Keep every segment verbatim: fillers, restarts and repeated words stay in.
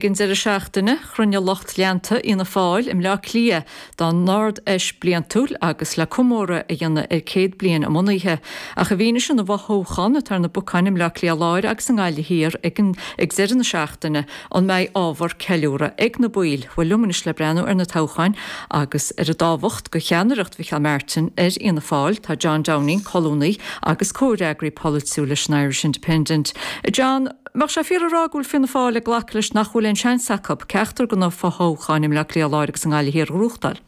Ag an deireadh seachtaine, chruinnigh lucht leanta Fhianna Fáil i mBleá Cliath dá n-Ard-Fheis bliantúil agus le comóradh a dhéanamh ar céad bliain a mbunaithe. Ach i bhfianaise na bhfothoghchán atá ar na bacáin i mBleá Cliath Láir agus i nGaillimh Thiar ag, an, ag deireadh na seachtaine, an mbeidh ábhar ceiliúradh ag na baill? Bhuel, liom anois le breathnú ar na toghcháin agus ar a dtábhacht do cheannaireacht Mhicheál Martin ar Fhianna Fáil, tá John Downing, colúnaí agus comhfhreagraí polaitiúil leis an Irish Independent. John, mbeadh sé fíor a rá go bhfuil Fianna Fáil ag glacadh leis nach bhfuil aon seans acu ceachtar de na fothoghcháin i mBleá Cliath Láir agus i nGaillimh Thiar a ghnóthachtáil?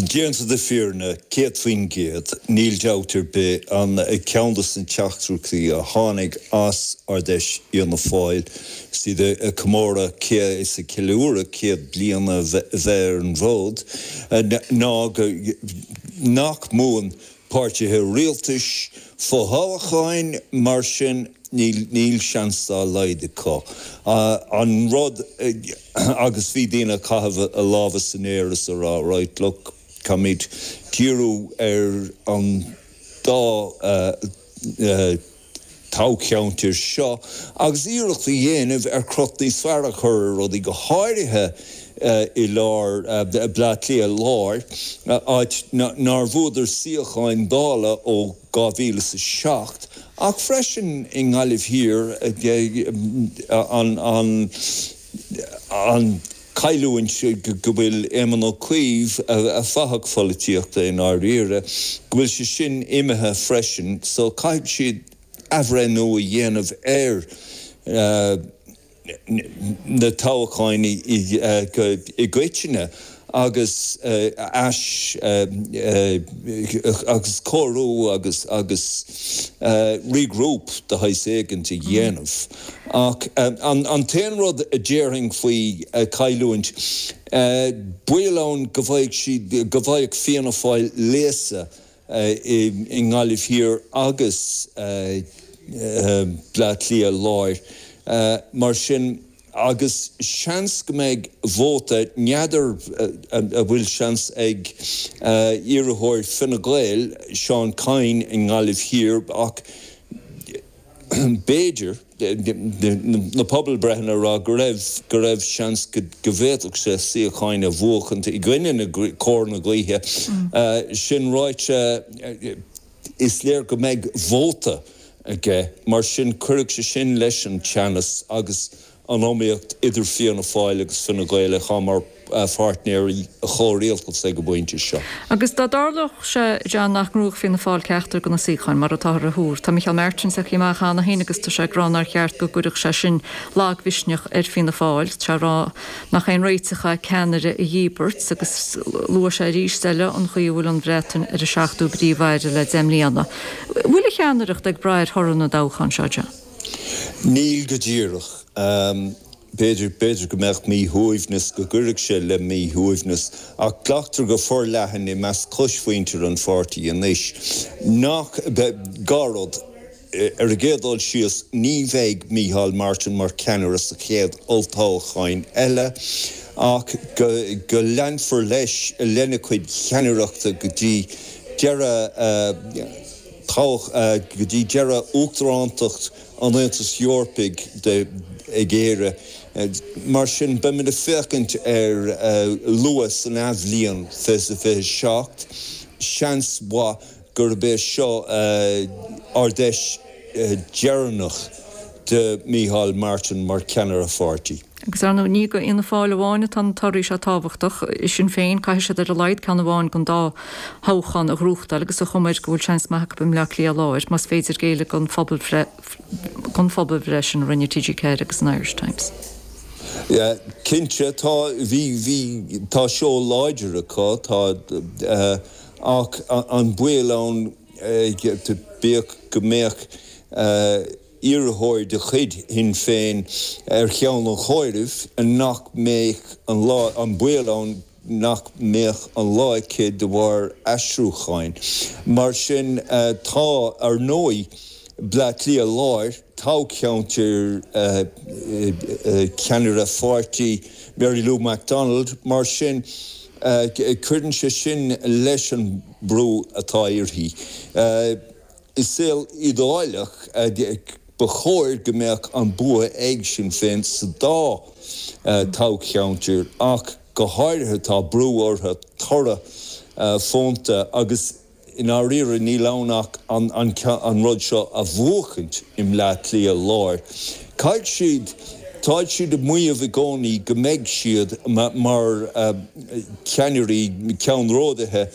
Déanta na fírinne, céad faoin gcéad, níl dabht ar bith, an ceann de na teachtaireachtaí a tháinig as Ard-Fheis Fhianna Fáil, is iad ag comóradh céad is ag ceiliúradh céad bliain a bheith ar an bhfód, ná go nach mbuann páirtithe rialtais fothoghcháin, mar sin níl níl seans dá laghad acu. An rud agus bhí daoine ag caitheamh a lámha san aer is a rá, right, look, caithfimid díriú ar an dá toghcheantar seo agus iarracht a dhéanamh ar crot níos fearr a chur ar rudaí, go háirithe i lár Bleá Cliath Láir, áit nár bhuadar suíocháin Dála ó dhá mhíle is a seacht, ach freisin i nGaillimh Thiar, an an an chailliúint go bhfuil Éamon Ó Cuív, a fathach pholaitíochta i ndáiríre, go bhfuil sé sin imithe freisin, so caithfidh siad athbhreithniú a dhéanamh ar na toghcháin i gcoitinne agus ais agus cóiriú agus agus regroup de shaghas éigint a dhéanamh. Ach an t-aon rud a déarfainn faoi chailliúint, baol ann go bhfaigheadh siad, go bhfaigheadh Fianna Fáil léasadh i nGaillimh Thiar agus Bleá Cliath Láir. Mar sin, agus seans go mbeidh vóta, n'fheadar an bhfuil seans ag iarrthóir Fine Gael, Seán Kyne i nGaillimh Thiar, ach b'fhéidir, na pobalbreitheanna ag rá go raibh, go raibh seans go bhféadfadh sé suíocháin a bhuachaint i gcoinne na, cóir na gaoithe. Sin ráite, is léir go mbeidh vóta aige, mar sin cuirfidh sé sin leis an teannas agus an iomaíocht idir Fianna Fáil agus Fine Gael atá mar pháirtnéirí chomhrialtais ag an bpointe seo. Agus dá dtarlódh sé, John, nach ngnóthódh Fianna Fáil ceachtar de na suíocháin, mar atáthar a thuar, tá Micheál Martin tagtha amach cheana féin agus tá sé ag rá nár cheart go gcuirfeadh sé sin lagmhisneach ar Fianna Fáil. Tá sé ag rá nach aon réiteach é ceannaire a dhíbirt agus luaigh sé arís eile an chaoi a bhfuil an Bhreatain ar a seachtú Príomh-Aire le deich mbliana. Bhfuil a cheannaireacht ag brath ar thoradh na dtoghchán seo, John? Níl go díreach. B'fhéidir, b'fhéidir go mbeadh míshuaimhneas, go gcuirfeadh sé le míshuaimhneas, ach glactar go forleathan i measc choismhuintir an pháirtí anois nach, dhá rud, ar an gcéad dul síos, ní bheidh Micheál Martin mar cheannaire sa chéad olltoghchán eile ach go, go leanfar leis, lena chuid ceannaireachta go dtí deireadh toghch, go dtí deireadh uachtarántacht an Aontais Eorpaigh ag Éire. Mar sin, beimid ag féachaint ar luath san athbhliain fiche fiche seacht. Seans mhaith gurb é seo Ard-Fheis dheireanach de Micheál Martin mar cheannaire pháirtí. Agus ar ndóigh, ní do Fhianna Fáil amháin atá na torthaí seo tábhachtach. I Sinn Féin, caithfidh siad ar a laghad ceann amháin den dá thoghchán a ghnóthachtáil agus an chuma air go bhfuil seans maith acu i mBleá Cliath Láir, más féidir géilleadh don don phobalbhreith sin a rinne T G ceathair agus an Irish Times. Yeah, cinnte, tá, bhí, bhí, tá seó láidir acu, tá, ach an baol ann, bíodh go mbeadh iarrthóir de chuid Shinn Féin ar cheann an chomhairimh, nach mbeadh an lá, an baol ann nach mbeadh an lá aici de bharr aistriúcháin. Mar sin, tá, ar ndóigh, Bleá Cliath Láir, toghcheantar ceannaire pháirtí Mary Lou McDonald, mar sin, cuireann sé sin leis an brú atá uirthi. I saol idéalach, Ba chóir go mbeadh an bua ag Sinn Féin sa dá toghcheantar ach go háirithe tá brú orthu toradh fónta agus i ndáiríre níl ann ach an an rud seo a bhuachaint i mBleá Cliath Láir. Caithfidh siad, táid siad ag maíomh i gcónaí go mbeidh siad mar cheannairí, ceannródaithe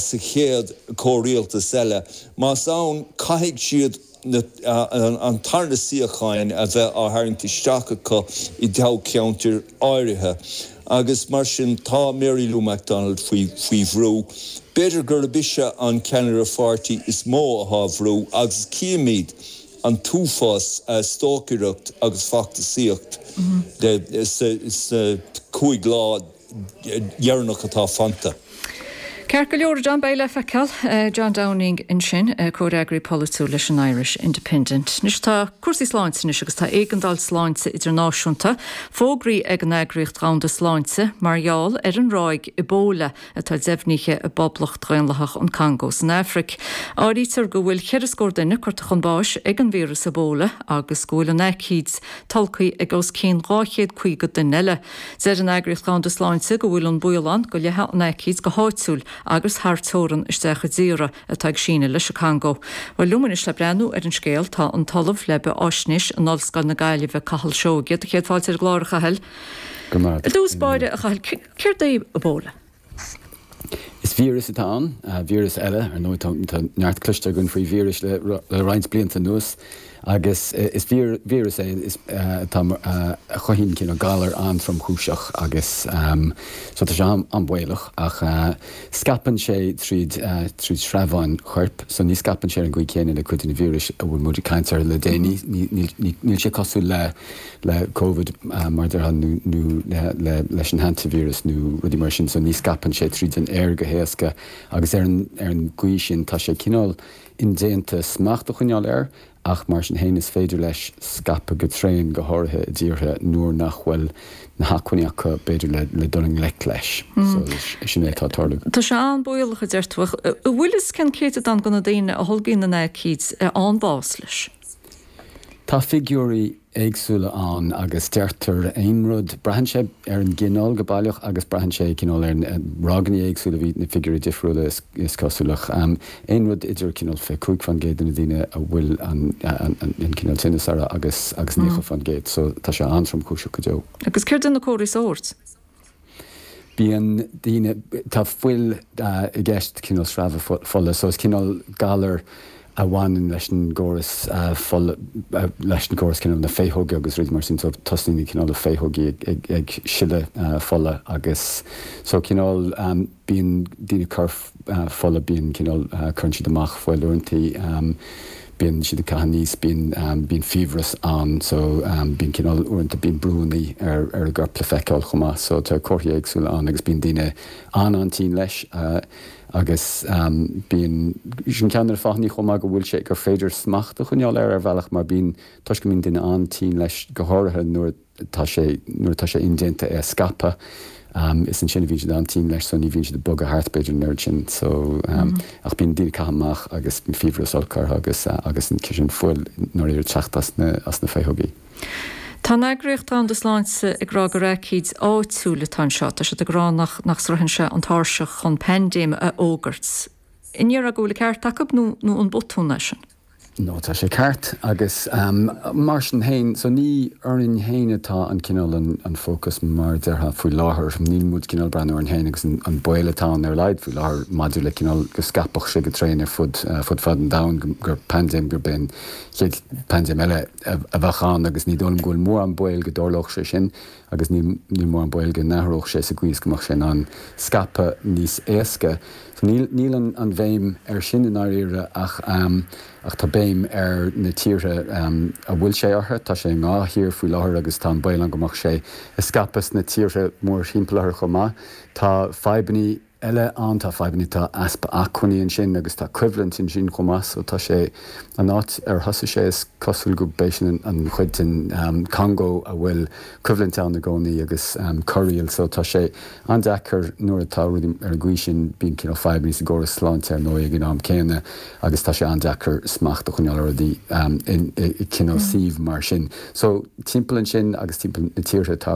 sa chéad chomhrialtas eile. Más ann, caithfidh siad an tarna suíocháin a bheith á tharraingt isteach acu i dtoghcheantair áirithe agus mar sin tá Mary Lou McDonald faoi faoi bhrú. B'fhéidir gurb ise an ceannaire pháirtí is mó atá faoi bhrú agus címid an t-uafás stocaireacht agus feachtasaíocht sna cúig lá dheireanach atá fanta. Ceart go leor, John, beidh le feiceáil. John Downing ansin, comhfhreagraí polaitiúil leis an Irish Independent. Anois tá cúrsaí sláinte anois agus tá éigeandáil sláinte idirnáisiúnta fógraithe ag an Eagraíocht Dhomhanda Sláinte mar gheall ar an ráig Ebola atá deimhnithe i bPoblacht Dhaonlathach an Chongó san Afraic. Áirítear go bhfuil ceithre scór duine curtha chun báis ag an víreas Ebola agus go bhfuil an aicíd tolgtha ag os cionn dhá chéad caoga duine eile. Deir an Eagraíocht Dhomhanda Sláinte go bhfuil an baol ann go leathfaidh an aicíd go háitiúil agus thar teorann isteach i dtíortha atá ag síneadh leis an Congó. Bhuel, liom anois le breathnú ar an scéal tá an tOllamh le Beathaisnéis in Ollscoil na Gaillimhe, Cathal Seoige. Do chéad fáilte ar an gclár, a Chathail. Go maith. I dtús báire, a Chathail, céard é Ebola? Is víreas atá ann, víreas eile, ar ndóigh tá neart cloiste againn faoi víris le roinnt blianta anuas agus is víreas é atá a chothaíonn cineál galar an-tromchúiseach agus so tá sé an-bhaolach ach scaipeann sé tríd tríd sreabháin choirp so ní scaipeann sé ar an gcaoi chéanna le cuid de na víris a bhfuil muid ag caint orthu le déanaí, níl sé cosúil le le Covid mar a déarfá nó le leis an hantavíreas nó rudaí mar sin so ní scaipeann sé tríd an aer go héasca agus ar an ar an gcaoi sin tá sé cineál indéanta smacht a choinneáil air ach mar sin féin is féidir leis scaipeadh go tréan go háirithe i dtíortha nuair nach bhfuil na hacmhainní acu b'fhéidir le le dul i ngleic leis. So sin é atá ag tarlú. Tá sé an-bhaolach a deir tú ach an bhfuil fhios cén céatadán de na daoine a tholgaíonn an aicíd a fhaigheann bás leis? Tá figiúirí éagsúla ann agus deirtear aon rud, braitheann sé ar an gcineál go baileach agus braitheann sé cineál ar ráigeanna éagsúla, bhí na figiúirí difriúla is cosúil ach aon rud idir cineál fiche cúig faoin gcéad de na daoine a bhfuil an cineál tinneas orthu agus agus naocha faoin gcéad so tá sé an-tromchúiseach go deo. Agus céard iad na comharthaí sóirt? Bíonn daoine, tá fuil i gceist, cineál sreabhadh fola, so is cineál galar a bhaineann leis an gcóras fola, leis an gcóras cineál na féitheoga agus rudaí mar sin, so tosaíonn na cineál na féitheogaí ag ag sileadh fola agus so cineál bíonn daoine ag cur fola, bíonn cineál, cuireann siad amach fuil uaireanta. Bíonn siad ag caitheamh aníos, bíonn, bíonn fiabhras ann so bíonn cineál, uaireanta bíonn brúnna ar, ar a gcorp le feiceáil chomh maith so tá comharthaí éagsúla ann agus bíonn daoine an-an-tinn leis agus bíonn, sin ceann de na fáthanna chomh maith go bhfuil sé, gur féidir smacht a choinneáil air ar bhealach mar bíonn, toisc go mbíonn duine an-tinn leis go háirithe nuair a. tá sé, nuair atá sé indéanta é a scaipeadh, is ansin a bhíonn siad an-tinn leis so ní bhíonn siad ag bogadh thart b'fhéidir an oiread sin so ach bíonn daoine ag caitheamh amach agus fiabhras olc orthu agus agus sin fuil nuair ag teacht as na as na féitheogaí. Tá an Eagraíocht Dhomhanda Sláinte ag rá gur aicíd áitiúil atá anseo. Tá siad ag rá nach nach sroicheann sé an tairseach chun paindéim a fhógairt. An ndéarfá go bhfuil an ceart acu nó nó an botún é sin? No, tá sé ceart agus mar sin féin, so ní orainn féin atá an cineál an fócas mar a déarfá faoi láthair. Níl muid cineál breathnú orainn féin agus an baol atá ann ar a laghad faoi láthair maidir le cineál go scaipfeadh sé go tréan ar fud fud fad an domhain, gur paindéim, gurb é an chéad paindéim eile a bheadh ann agus ní dóigh liom go bhfuil mórán baol go dtarlódh sé sin agus níl níl mórán baol go n-athródh sé sa gcaoi is go mbeadh sé in ann scaipeadh níos éasca. So níl níl an an bhéim air sin i ndáiríre ach ach tá béim ar na tíortha a bhfuil sé orthu. Tá sé i ndhá thír faoi láthair agus tá an baol ann go mbeadh sé ag scaipeadh sna tíortha mórthimpeall orthu chomh maith. Tá fadhbanna eile ann tá fadhbanna tá easpa acmhainní ansin agus tá coimhlint ansin chomh maith so tá sé an áit ar thosaigh sé is cosúil go b'é sin an chuid den um, Congo a bhfuil coimhlint ann i gcónaí agus um, corraíl so tá sé an-deacair nuair atá rudaí ar an gcaoi sin bíonn cineál fadhbanna sa gcóras sláinte ar ndóigh ag an am céanna agus tá sé an-deacair smacht a choinneáil ar rudaí um, in, i, i cineál suíomh mar sin. So timpeall ansin agus timpeall na tíortha tá